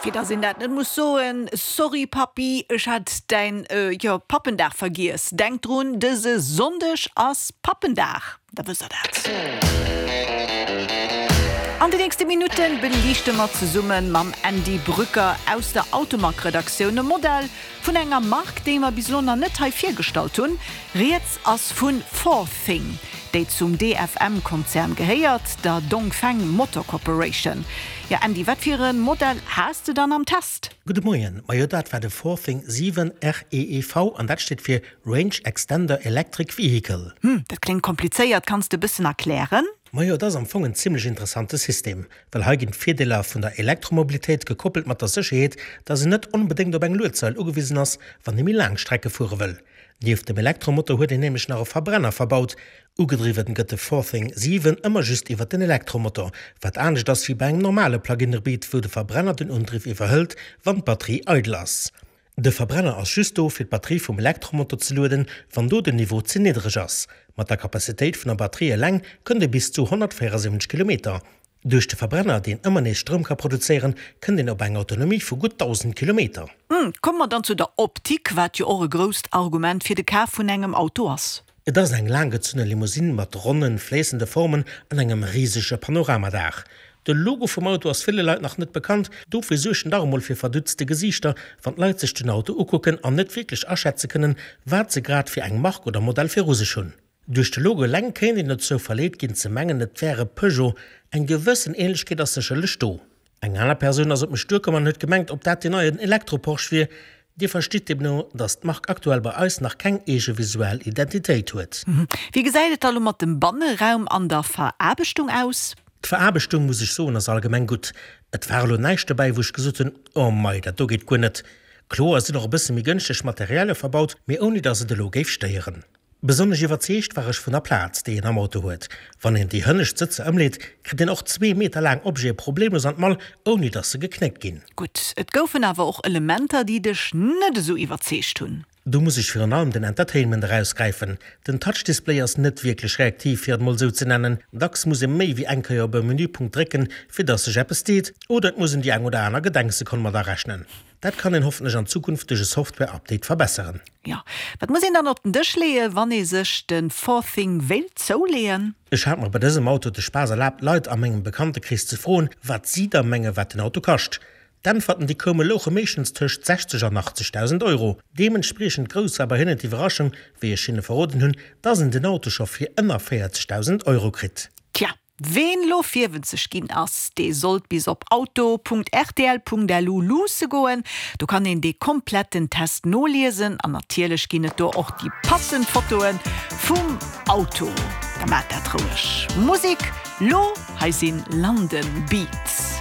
Fir dass een dat net muss soen, Sorry Pappi, ech hat däin, jo, Pappendag vergiess. Denk drun, dëse Sonndeg ass Pappendag, da wësst der dat. An de nächste Minutte beliichte mer zesumme mam Andy Brücker aus der Automag-Redaktioun e Modell vun enger Mark, déi mer bis elo nach net hei virgestallt hunn. Rieds ass vu Forthing, déi zum DFM-Konzern gehéiert, der Dongfeng Motor Corporation. Jo Andy, wat fir e Modell has de dann am Test? Gudde Moien, majo dat war de Forthing 7 REEV an dat steet fir Range Extender Electric Vehicle. Hm, dat kléngt komplizéiert, kanns de e bëssen erklären? Majo, et ass am Fong en zimlech interessante System, well hei ginn d'Virdeeler vun der Elektromobilitéit gekoppelt mat der Sécherheet, dass een net onbedéngt op eng Luedsail ugewisen ass, wann ee méi laang Strecke fuere wëll. Nieft dem Elektromotor huet een nämlech nach e Verbrenner verbaut. Ugedriwwen gëtt de Forthing 7 ëmmer just iwwer den Elektromotor, wat anescht ass wéi bei engem normale Plug-in-Hybrid, wou de Verbrenner den Undriff iwwerhëlt, wann d'Batterie eidel ass. De Verbrenner ass just do, fir d'Batterie vum Elektromotor ze lueden, wann do den Niveau ze niddereg ass. Mat der Capacitéit vun der Batterie eleng kënnt ee bis zu 174 Kilometer. Duerch de Verbrenner, deen ëmmer nees Stroum ka produzéieren, kënnt een op eng Autonomie vu gutt 1.000 Kilometer. Komme mer dann zu der Optik, wat jo och e grousst Argument fir de Kaf vun engem Auto ass. Et ass eng laanggezunne Limousine mat ronnen, fléissende Formen an engem risege Panoramadaach. De Logo vum Auto ass ville Leit nach net bekannt, dofir suergt en dach emol fir verdutzte Gesiichter, wann d'Leit sech den Auto ukucken an net wierklech aschätze kënnen, wat se grad fir eng Mark oder Modell viru sech hunn. Duerch de Logo eleng kéint een dozou verleet ginn ze mengen, et wär e Peugeot. Eng gewëssen Ähnlechkeet ass sécherlech do. Eng aner Persoun ass op mech duerkomm an huet gemengt, ob dat deen neien Elektro-Porsche wier. Dir verstitt deemno, dass d'Mark aktuell bei eis nach keng eege visuell Identitéit huet. Wéi gesäit et da lo mat dem Banneraum an der Veraarbechtung aus? D'Veraarbechtung, muss ech soen, ass allgemeng gutt. Et war elo näischt dobäi, wou ech gesot hunn, oh mei, dat do geet guer net. Kloer sinn och e bësse méi gënschteg Materialie verbaut, mee ouni dass et elo géif stéieren. Besonnesch iwwerzeegt war ech vun der Plaz, déi een am Auto huet. Wann een déi hënnescht Sëtzer ëmleet, kritt een och zwee Meter laang Objete problemlos an d'Mall, ouni dass se geknéckt ginn. Gutt, et goufen awer och Elementer, déi dech net esou iwwerzeegt hunn. Do muss ech virun allem den Entertainment erausgräifen. Den Touch-Display ass net wierklech reaktiv, fir et mol esou ze nennen. Dacks muss ee méi wéi eng Kéier op e Menüpunkt drécken, fir dass sech eppes deet, oder et muss een déi eng oder aner Gedenksekonn mat arechnen. Dat kann een hoffentlech an Zukunft duerch e Software-Update verbesseren. Jo, wat muss een dann op den Dësch leeën, wann ee sech de Forthing wéilt zouleeën? Ech hat mer bei dësem Auto de Spaass erlaabt, Leit a mengem Bekanntekrees ze froen, wat si da menge wat den Auto kascht. D'Äntwerten déi koume louche meeschtens tëscht 60 an 80.000 Euro. Deementspriechend grouss war bei hinnen d'Iwwerraschung, wéi ech hinne verroden hunn, dass een den Auto scho fir ënner 40.000 Euro kritt. Tja, Ween lo virwëtzeg ginn ass, dee sollt bis op auto.rtl.lu luusse goen. Do kann een dee kompletten Test noliesen an natierlech ginn et do och déi passend Fotoe vum Auto. Da maacht dat roueg. Musek lo, hei sinn London Beats.